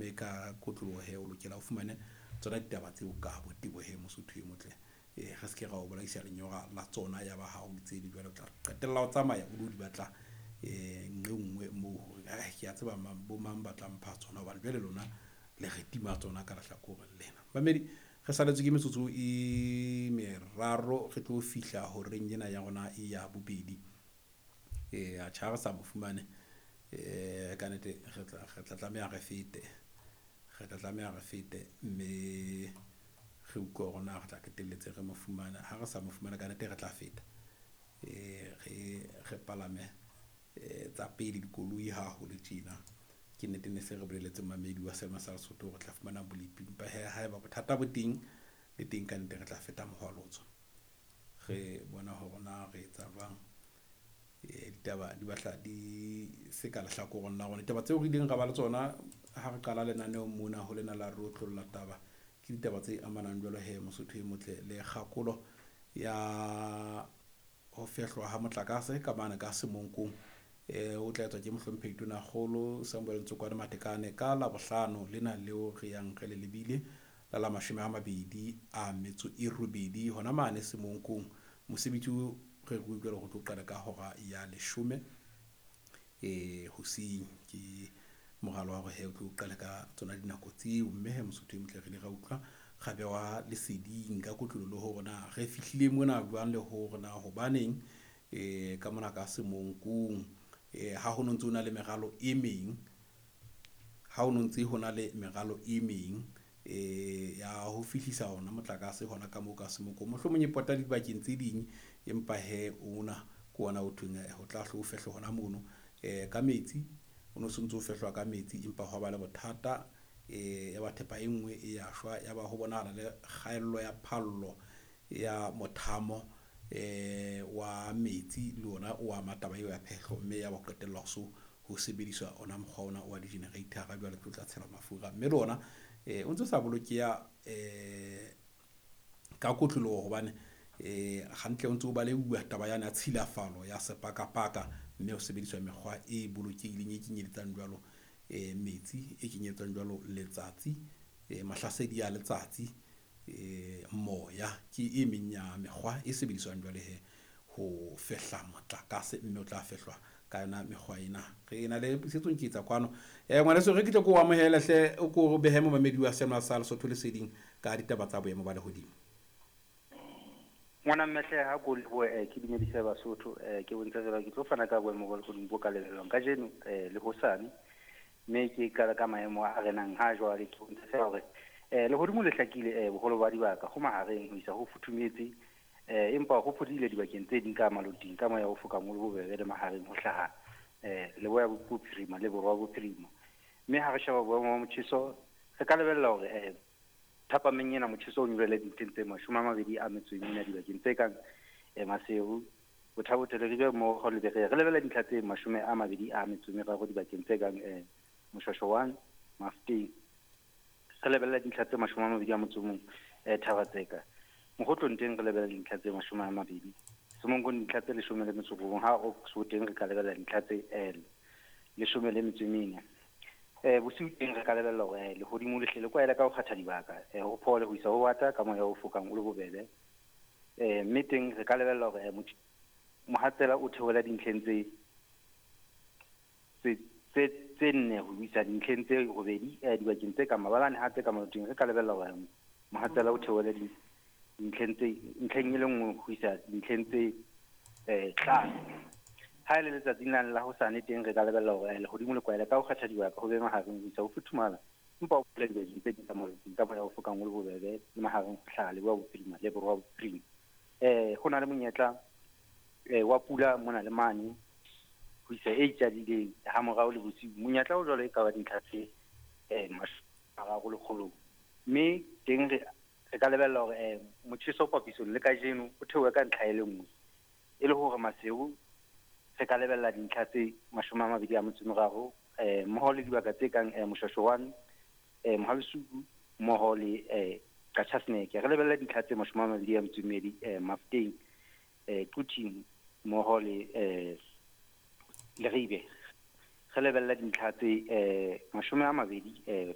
Mme ka kotloloho he o lokela o fumane tsona ditaba tseo ka botebo he Mosotho e motle. Re se ke ra o bolaisa lenyora la tsona ya ba ha o di tsebe jwale o tla qetella o tsamaya o lo di batla nqe nngwe moo hore ke a tseba mang bo mang ba tla mpha tsona hobane jwale lona le re tima tsona ka lehlakoreng lena. Mamedi re saletswe ke metsotso e meraro re tlo fihla horeng ena ya rona e ya bobedi. Atjhe ha re sa mo fumane ka nnete re tla tlameha re fete. Re tla tlameha re fete mme re utlwe hore na re tla qetelletse re mo fumana. Ha re sa mo fumane ka nnete re tla feta. Re palame tsa pele dikoloi ha ho le tjena. Ke nnete ne se re bolelletse mamedi wa selema sa Lesotho hore re tla fumana bolepi. Empa he haeba bothata bo teng le teng ka nnete re tla feta mohwalotso. Re bona hore na re etsa jwang. Ditaba di batla di se ka lehlakoreng la rona. Ditaba tseo re ileng ra ba le tsona ha re qala lenaneo mona ho lena la re otlolla taba. Ke ditaba tse amanang jwalo he Mosotho e motle le kgakolo ya ho fehlwa ha motlakase ka mane ka Semonkong. O tla etswa ke mohlomphehi Tonakgolo Samuel Ntsokwane Matekane ka Labohlano lena leo re yang re le lebile la 28 hona mane Semonkong. Mosebetsi o re re utlwela ho tlo qala ka hora ya 10 hoseng. Ke moralo wa hore he o tlo qala ka tsona dinako tseo, mme he Mosotho e motle re ile ra utlwa ra bewa leseding ka kotlolo le hore na re fihlile mona jwang le hore na hobaneng ka mona ka Semonkong ha ho no ntse ho na le meralo e meng, ha ho no ntse ho na le meralo e meng ya ho fihlisa ona motlakase hona ka moo ka Semonkong. Mohlomong e pota dibakeng tse ding, empa he ona ke ona o thweng ho tla hlo fehlwa hona mono ka metsi. O no sontso o fehlwa ka metsi, empa hwa ba le bothata ya ba thepa e nngwe e ya shwa, ya ba ho bonahala le kgaello ya phallo ya mothamo wa metsi le ona o ama taba eo ya phehlo, mme ya ba qetella ho so ho sebediswa ona mokgwa ona wa di-generator-a jwale tlo tla tshelwa mafura, mme le ona o ntso sa bolokeha ka kotloloho hobane hantle o ntso o baleuwa taba yana ya tshilafalo ya sepakapaka, mme ho sebediswa mekgwa e bolokehileng e kenyeletsang jwalo metsi, e kenyeletsang jwalo letsatsi, mahlasedi a letsatsi, moya ke e meng ya mekgwa e sebediswang jwale he ho fehla motlakase, mme o tla fehlwa ka yona mekgwa ena. Re na le puisetso nketsa kwano. Ngwaneso re ke tle ko o amohele hle, o ko behe momamedi wa Sema sa Lesotho leseding ka ditaba tsa boemo ba lehodimo. Ngwana mmehle ha ko lebohe, ke dumedise Basotho, ke bontsha fela ke tlo fana ka boemo ba lehodimo bo ka lebellwang kajeno le hosane, mme ke qala ka maemo a renang ha jwale. Ke bontsha fela hore lehodimo le hlakile boholo ba dibaka ho mahareng ho isa ho futhumetse, empa ho phodile dibakeng tse ding ka maloting ka moya o fokang o le bobebe le mahareng ho hlaha leboya bophirima le borwa bophirima. Mme ha re sheba boemo ba motjheso re ka lebella hore thapameng ena motjheso o nyolohele dintlheng tse 24 dibakeng tse kang Maseru, Botha-Bothe, Leribe mmoho le Berea. Re lebella dintlha tse 23 dibakeng tse kang Moshwashwa 1, Mafeteng. Re lebella dintlha tse 21 Thaba-Tseka. Mokgotlong teng re lebella dintlha tse 20. Semonkong dintlha tse 19, ha Oxford teng re ka lebella dintlha tse 14. Bosiu teng re ka lebella hore lehodimo le hle le kwaele ka ho kgatha dibaka, ho phole ho isa ho bata ka moya o fokang o le bobebe. Mme teng re ka lebella hore mohatsela o theohela dintlheng tse 4 ho isa dintlheng tse 8 dibakeng tse ka mabalane ha tse ka maloting. Re ka lebella hore mohatsela o theohela dintlheng tse ntlheng e le nngwe ho isa dintlheng tse 5. Ha le letsatsing la hosane teng re ka lebella hore lehodimo le kwaele ka ho kgatha dibaka ho be mahareng ho isa ho futhumala, empa ho phole dibakeng tse ding ka moya o fokang o le bobebe le mahareng ho hlaha leboya bophirima le borwa bophirima. Ho na le monyetla wa pula mona le mane ho isa e itjadileng ha morao le bosiu. Monyetla o jwalo e ka ba dintlha tse 30 lekgolong, mme teng re ka lebella hore motjheso papisong le kajeno o theohe ka ntlha e le nngwe, e le hore Maseru re ka lebella dintlha tse 23 mmoho le dibaka tse kang Moshwashwa 1, Mohabesuku mmoho le Qachaseneke. Re lebella dintlha tse 22 Mafeteng, Quthing mmoho le Leribe. Re lebella dintlha tse 20